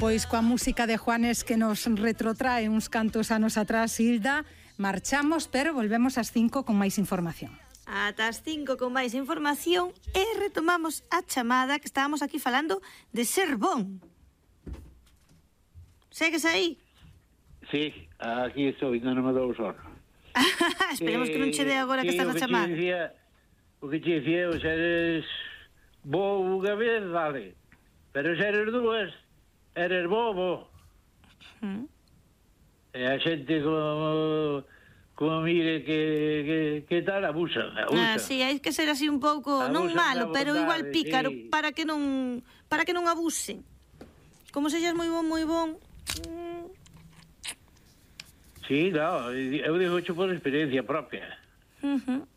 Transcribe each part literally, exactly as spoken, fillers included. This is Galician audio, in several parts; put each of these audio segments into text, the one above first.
Pois coa música de Juanes que nos retrotrae uns cantos anos atrás, Hilda, marchamos, pero volvemos ás cinco con máis información. Ata as cinco con máis información e retomamos a chamada que estábamos aquí falando de ser bon. Segues aí? Sí, aquí estou, ainda non me dou o sono. Esperemos eh, que non che dé agora que estás na chamada. Decía, o que te dicía, se eres bo unha vez, vale. Pero se eres dúas, eres bobo. Mm. E a xente como, como mire que, que, que tal, abusa, abusa. Ah, sí, hai que ser así un pouco, abusa, non malo, pero igual pícaro, sí. para que non para que non abusen. Como sexas moi bon, moi bon... Mm. Sí, no, eu digo xo por experiencia propia. Uh-huh.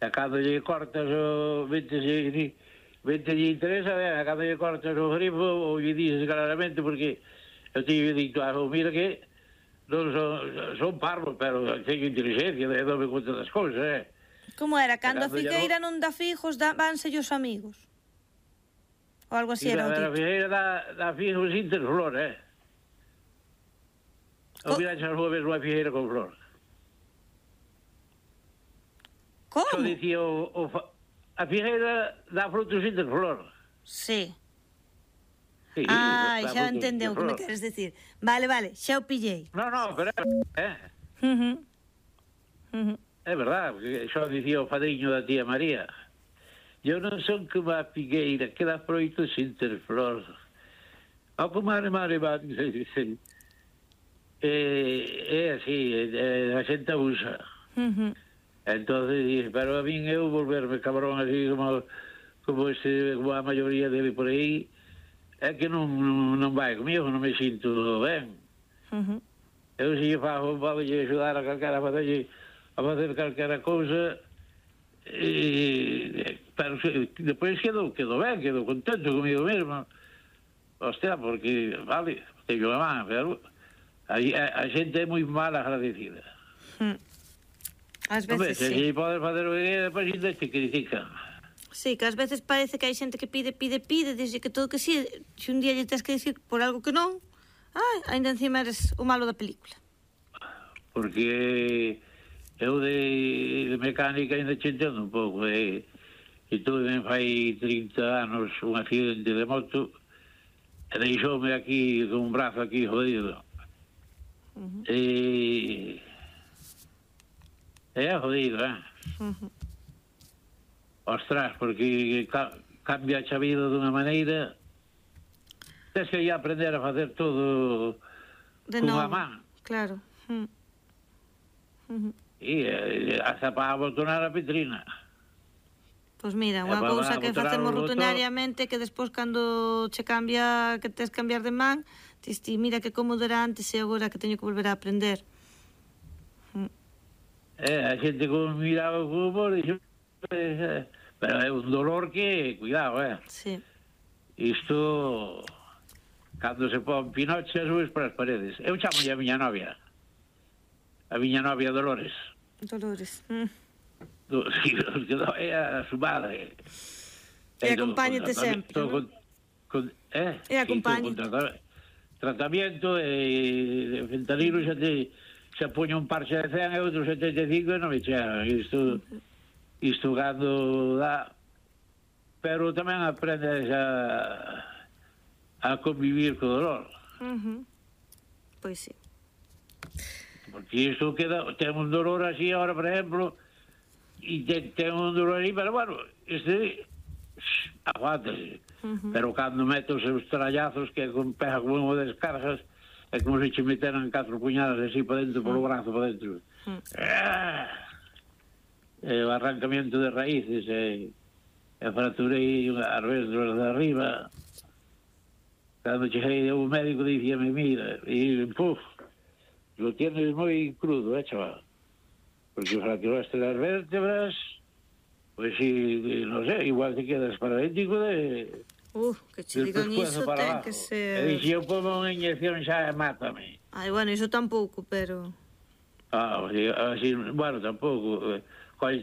A cando lle cortas o... vente lle interesa, a cando lle cortas o grifo, ou lle dices claramente, porque eu teño dito, ah, mira que non son, son parvos, pero teño inteligencia, e dome conta das cousas, eh. Como era? Cando a figueira non dá figos, vanse os amigos? Ou algo así era o dito? A figueira dá figos interflor, eh. Ou miraxe as nubes unha figueira con flor. Como? Só dicía o, o, a figueira dá frutos interflor. Sí. Sí, ah, xa entendeu o que me queres decir. Vale, vale, xa o pillei. No, no, pero é eh. Uh -huh. Uh -huh. É verdad, porque xa dicía o padriño da tía María. Eu non son como a figueira que dá froitos interflor. Ao comare mare mare mare. É así, a xente abusa. Uh-huh. Entonces, pero a min eu volverme cabrón así como como, ese, como a maioría debe por aí, é que non, non vai comigo, non me sinto ben. Uh-huh. Eu se lle fago, vou lle ajudar a calquera, a fazer, a facer calquera cousa, e, pero depois quedo, quedo ben, quedo contento comigo mesmo. Hostia, porque, vale, teño a man, pero... A, a, a xente é moi mal agradecida. Hmm. Ás veces, se sí. Se podes fazer o que depois ainda te critican. Sí, que ás veces parece que hai xente que pide, pide, pide, dixe que todo que sí, se un día lle tens que dicir por algo que non, ai, ainda encima eres o malo da película. Porque eu de, de mecánica ainda che entendo un pouco, e, e tuve ben fai trinta anos un accidente de moto, e deixoume aquí con un brazo aquí jodido. Uh-huh. E é jodido, eh? Uh-huh. Ostras, porque ca cambia a vida dunha maneira, tens que ir a aprender a facer todo de con novo. A man. Claro. Uh -huh. E eh, hasta para abotonar a petrina. Pois mira, unha cousa que facemos rutinariamente, que despois cando che cambia, que tes cambiar de man, ti mira que cómodo era antes e agora que teño que volver a aprender. Mm. Eh, a xente como miraba o fútbol, dixo, eh, pero é un dolor que, cuidado, eh. Sí. Isto, cando se pon Pinoche, subes para as paredes. Eu chamo a miña novia. A miña novia Dolores. Dolores. Mm. Do, sí, é a su madre. E acompáñete sempre, con, con, eh? E acompáñete. Sí, tratamiento e de fentanilo xa te xa poño un parche de cen e outro setenta e cinco e non me chegan. Isto, isto cando dá, pero tamén aprendes a a convivir co dolor. Uh -huh. Pois sí. Porque isto queda, ten un dolor así ahora, por exemplo, e ten, ten un dolor aí, pero bueno, este aguántase. Uh -huh. Pero cando meto os seus trallazos que pega como unha descargas, é como se che meteran catro puñadas así para dentro, uh -huh. polo brazo para dentro. Uh -huh. ah, e o arrancamiento de raíces, e, e fracturei as vértebras de arriba. Cando cheguei o médico dicíame, mira, e puf, lo tienes moi crudo, eh, chaval? Porque fracturaste las vértebras, pues si, no sé, igual te quedas paralítico de... Uh, que che digan iso ten que ser... E dixi, eu pongo unha inyección xa, mátame. Ai, bueno, iso tampouco, pero... Ah, así, bueno, tampouco.